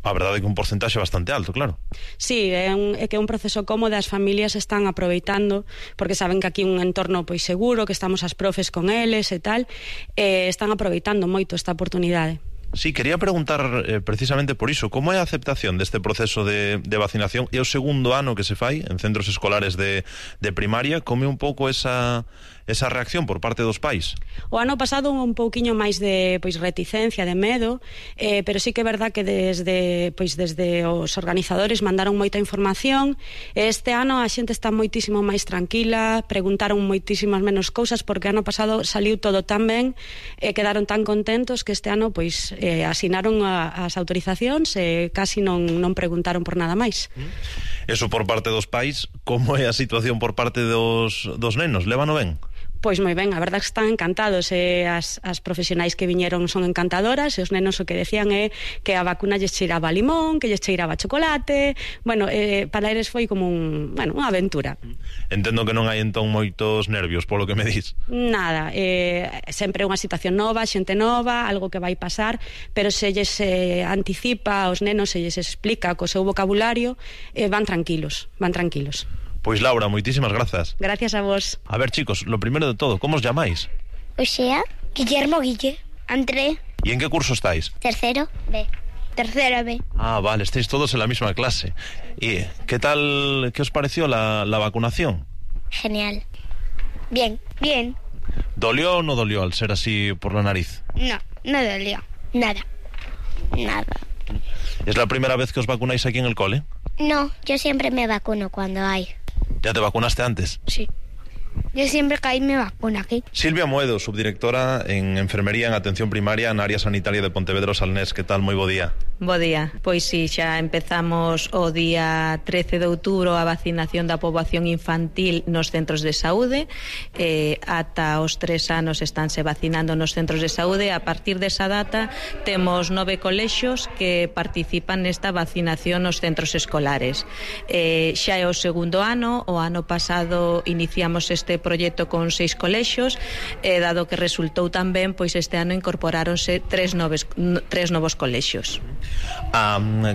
A verdade é que un porcentaxe bastante alto, claro. Sí, é que é un proceso cómodo, as familias están aproveitando, porque saben que aquí é un entorno pois seguro, que estamos as profes con eles e tal, están aproveitando moito esta oportunidade. Sí, quería preguntar precisamente por iso, como é a aceptación deste proceso de vacinación? É o segundo ano que se fai en centros escolares de primaria, como é un pouco esa reacción por parte dos pais? O ano pasado un pouquiño máis de reticencia, de medo, pero sí que é verdad que desde os organizadores mandaron moita información. Este ano a xente está moitísimo máis tranquila, preguntaron moitísimas menos cousas, porque ano pasado saliu todo tan ben, quedaron tan contentos que este ano asinaron as autorizacións e casi non preguntaron por nada máis. Eso por parte dos pais. Como é a situación por parte dos nenos? Lévano ben? Pois moi ben, a verdade é que están encantados, as profesionais que viñeron son encantadoras, e os nenos o que decían é que a vacuna lles cheiraba a limón, que lles cheiraba a chocolate. Bueno, para eles foi como unha aventura. Entendo que non hai entón moitos nervios, polo que me dis. Nada, sempre é unha situación nova, xente nova, algo que vai pasar, pero se lles anticipa aos nenos, se lles explica co seu vocabulario, van tranquilos. Pois Laura, moitísimas grazas. Gracias a vos. A ver, chicos, lo primero de todo, como os llamáis? Oxea, Guillermo, Guille, André. ¿Y en qué curso estáis? Tercero B. Tercero B. Ah, vale, estáis todos en la misma clase. ¿Y qué tal, qué os pareció la vacunación? Genial. Bien. ¿Dolió o no dolió al ser así por la nariz? No dolió. Nada. ¿Es la primera vez que os vacunáis aquí en el cole? No, yo siempre me vacuno cuando hay. ¿Ya te vacunaste antes? Sí. Yo siempre que hay me vacuno aquí. Silvia Moedo, subdirectora en Enfermería en Atención Primaria na área sanitaria de Pontevedra Salnés. Que tal? Moi bo día. Bo día. Pois si, xa empezamos o día 13 de outubro a vacinación da poboación infantil nos centros de saúde. Ata os 3 anos estánse vacinando nos centros de saúde. A partir desa data temos 9 colexios que participan nesta vacinación nos centros escolares. Xa é o segundo ano. O ano pasado iniciamos este proxecto con 6 colexios, dado que resultou tan ben, pois este ano incorporáronse 3 novos colexios.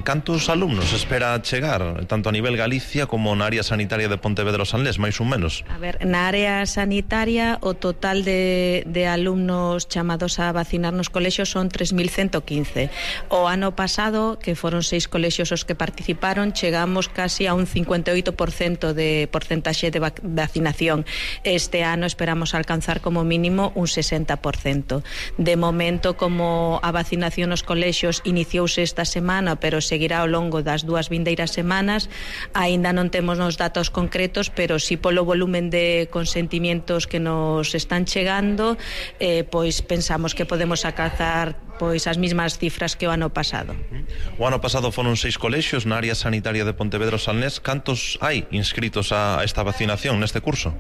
Cantos alumnos espera chegar, tanto a nivel Galicia como na área sanitaria de Pontevedra Salnés, máis ou menos? A ver, na área sanitaria o total de alumnos chamados a vacinar nos colexios son 3.115. O ano pasado, que foron 6 colexios os que participaron, chegamos casi a un 58% de porcentaxe de vacinación. Este ano esperamos alcanzar como mínimo un 60%. De momento, como a vacinación nos colexios iniciouse esta semana, pero seguirá ao longo das 2 vindeiras semanas, aínda non temos os datos concretos, pero si polo volumen de consentimientos que nos están chegando, pois pensamos que podemos alcanzar pois as mesmas cifras que o ano pasado. O ano pasado foron 6 colexios na área sanitaria de Pontevedra Salnés. Cantos hai inscritos a esta vacinación neste curso?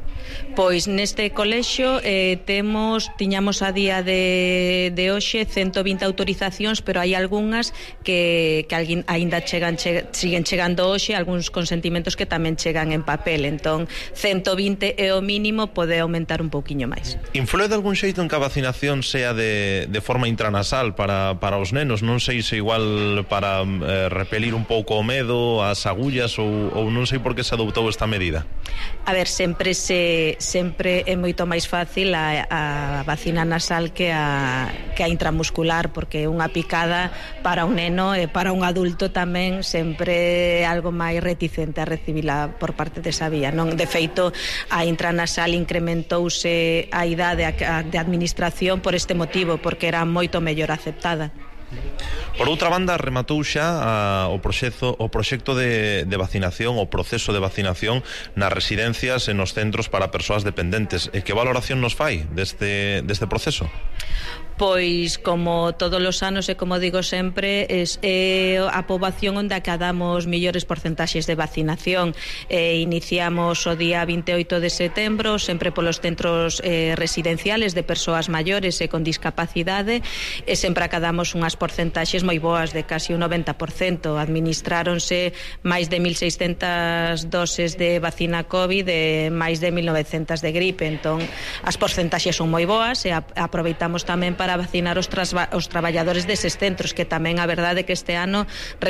Pois neste colexio tiñamos a día de hoxe 120 autorizacións, pero hai algunhas que aínda siguen chegando hoxe, algúns consentimentos que tamén chegan en papel. Entón 120 é o mínimo, pode aumentar un pouquiño máis. Influe de algún xeito en que a vacinación sea de forma intranasal para os nenos? Non sei se igual para repelir un pouco o medo, as agullas, ou non sei por que se adoptou esta medida. A ver, sempre é moito máis fácil a vacina nasal que a intramuscular, porque unha picada para un neno e para un adulto tamén sempre é algo máis reticente a recibila por parte desa vía, non? De feito, a intranasal incrementouse a idade de administración por este motivo, porque era moito mellor aceptada. Por outra banda, rematou xa o proxecto de vacinación, o proceso de vacinación nas residencias e nos centros para persoas dependentes. E que valoración nos fai deste proceso? Pois, como todos os anos e como digo sempre, é a poboación onde acadamos millores porcentaxes de vacinación. Iniciamos o día 28 de setembro, sempre polos centros residenciales de persoas maiores e con discapacidade, e sempre acadamos unhas porcentaxes moi boas, de casi un 90%. Administráronse máis de 1.600 doses de vacina COVID e máis de 1.900 de gripe. Entón, as porcentaxes son moi boas, e aproveitamos tamén para vacinar os traballadores deses centros, que tamén a verdade que este ano